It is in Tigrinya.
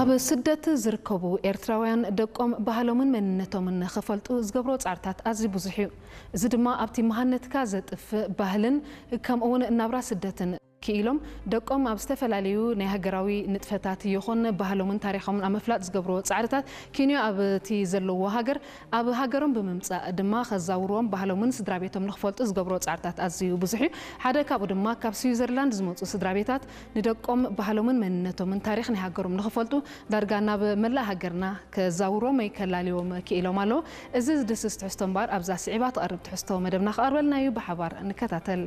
ኣብ ስደት ዝርከቡ ኤርትራውያን ደቆም ባህሎምን መንነቶምን ንኽፈልጡ ዝገብሮ ጻዕርታት ኣዝዩ ብዙሕ እዩ። እዚ ድማ ኣብቲ መሃነትካ ዘጥፍእ ባህልን ከምኡ እውን ናብራ ስደትን ክኢሎም ደቆም ኣብ ዝተፈላለዩ ናይ ሃገራዊ ንጥፈታት ይኹን ባህሎምን ታሪኾምን ኣብ ምፍላጥ ዝገብርዎ ጻዕርታት ኪንዮ ኣብቲ ዘለዎ ሃገር ኣብ ሃገሮም ብምምጻእ ድማ ከዛውርዎም ባህሎምን ስድራ ቤቶም ንኽፈልጡ ዝገብርዎ ጻዕርታት ኣዝዩ ብዙሕ እዩ። ሓደ ካብኡ ድማ ካብ ስዊዘርላንድ ዝመጹ ስድራ ቤታት ንደቆም ባህሎምን መንነቶምን ታሪኽ ናይ ሃገሮም ንኽፈልጡ ዳርጋ ናብ መላእ ሃገርና ከዛውርዎም ወይ ከላልዮም ክኢሎም ኣለዉ። እዚ ዝድስስ ትሕዝቶ እምበኣር ኣብዛ ስዒባ ትቐርብ ትሕዝቶ መደብና ክቐርበልና እዩ። ብሓባር ንከታተል።